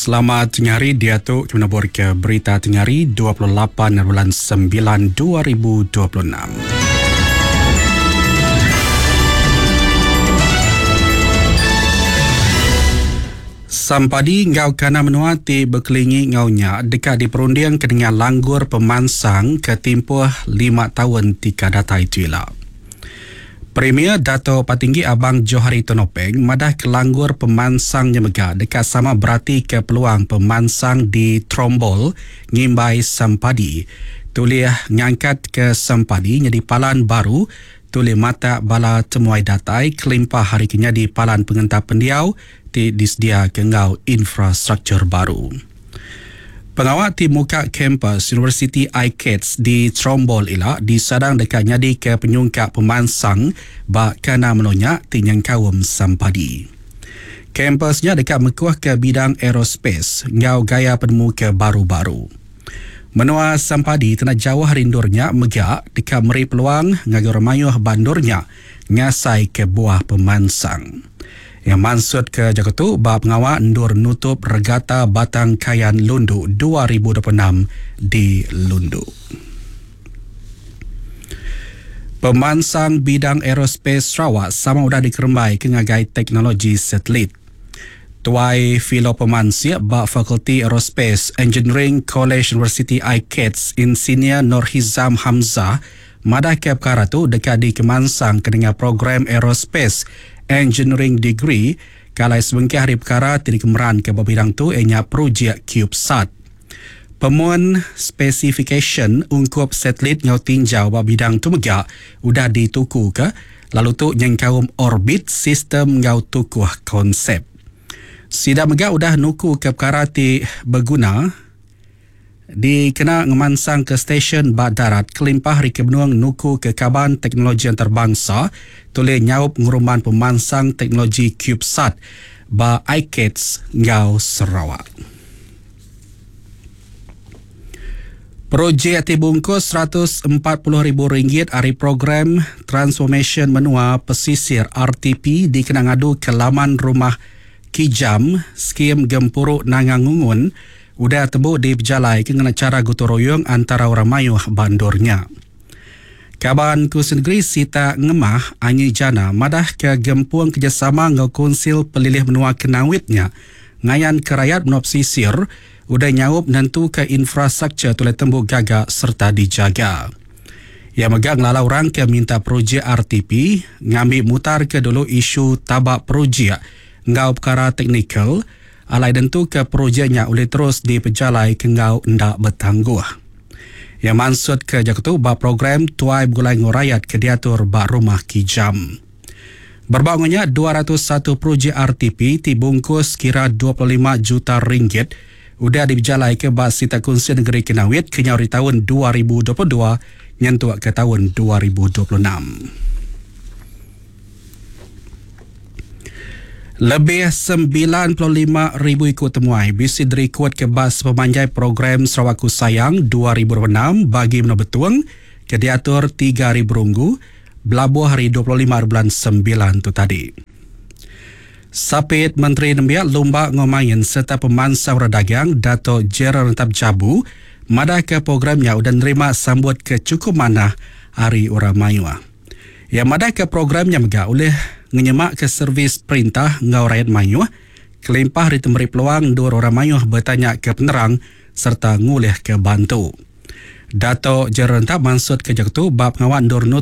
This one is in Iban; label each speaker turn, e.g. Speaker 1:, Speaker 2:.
Speaker 1: Selamat tengah hari diatu kami nabur ke berita tengah hari 28 bulan 9 2026. Sampadi enggau kana menua ti bekelingi enggau nya deka diperunding ke nengah langgur pemansang ke timpuh 5 taun ti ka datai tu ila. Premier Dato Patinggi Abang Johari Tun Openg madah ke langgur pemansang nya mega deka sama beratika peluang pemansang di Trombol ngimbai Sampadi tulih ngangkatka Sampadi nyadi palan baru tulih matak bala temuai datai kelimpah ari ke nyadi palan pengentap pendiau ti disediaka enggau infrastruktur baru. Pengawa ti muka kampus Universiti ICATS di Trombol ila disadang deka nyadika penyungkak pemansang ba kandang menua nya ti nyengkaum Sampadi. Kampus nya deka mekuhka bidang aerospace enggau gaya penemu ke baru-baru. Menua Sampadi kena jauh ari endur nya mega deka meri peluang ngagai orang mayuh ba endur nya ngasaika buah pemansang. Iya mansutka jaku tu ba pengawa endur nutup Regata Batang Kayan Lundu 2026 di Lundu. Pemansang bidang aerospace Sarawak sama udah dikerembai ke ngagai teknologi satelit. Tuai Filo Pemansik ba Fakulti Aerospace Engineering Kolej Universiti ICATS Insinyur Nur Hizam Hamzah madahka pekara tu deka dikemansang ke nengah program Aerospace Engineering Degree ke alai sebengkah ari pekara ti dikemeranka ba bidang tu iya nya projek CubeSat. Pemun spesifikasyen ungkup satelit enggau tinjau ba bidang tu mega udah ditukuka lalu tu nyengkaum orbit, sistem enggau tukuh konsep. Sida mega udah nukuka pekara ti beguna Dikena ngemansangka stesyen ba darat kelimpah ari ke benung nukuka kaban teknologi antarabangsa tulih nyaup ngerumban pemansang teknologi CubeSat ba ICATS enggau Sarawak. Projek ti bungkus 140 ribu ringgit ari Program Transformasyen Menua Pesisir RTP dikena ngaduka laman Rumah Kijam, Skim Gempuru Nanga Ngungun, udah tembu dipejalaika ngena chara gotong-royong antara orang mayuh ba endur nya. Kaban Kunsil Negeri Sitak Ngemah, Anyi Jana madahka gempung kerejasama enggau Kunsil Pelilih Menua Kenawit nya ngayanka rayat menua pesisir udah nyaup nentuka infrastruktur tulai tembu gaga sereta dijaga. Iya mega ngelalau orang ke minta projek RTP ngambi mutarka dulu isu taba projek enggau pekara teknikal alai nentuka projek nya ulih terus dipejalaika enggau enda betangguh. Iya mansutka jaku tu ba program Tuai Begulai Enggau Rayat ke diatur ba Rumah Kijam. Berebak enggau nya, 201 projek RTP ti bungkus kira 25 juta ringgit udah dipejalaika ba sitak Kunsil Nengeri Kenawit kenyau ari taun 2022 nyentuk ke taun 2026. Lebih 95,000 iku temuai bisi dirikodka ba sepemanjai program Sarawakku Sayang 2026 bagi Menua Betong ke diatur tiga hari berunggu belabuh hari 25 hari bulan sembilan tu tadi. Sapit Menteri Nembiak Lumba enggau Main sereta Pemansang Orang Dagang Dato Gerald Rentap Jabu madahka program nya udah nerima sambut ke chukup manah ari orang mayuh. Iya madahka program nya mega ulih ngenyemakka servis perintah enggau rayat mayuh kelimpah ari temeri peluang endur orang mayuh betanyaka penerang sereta ngulihka bantu. Dato Gerald Rentap mansutka jaku tu ba pengawa endur nutup.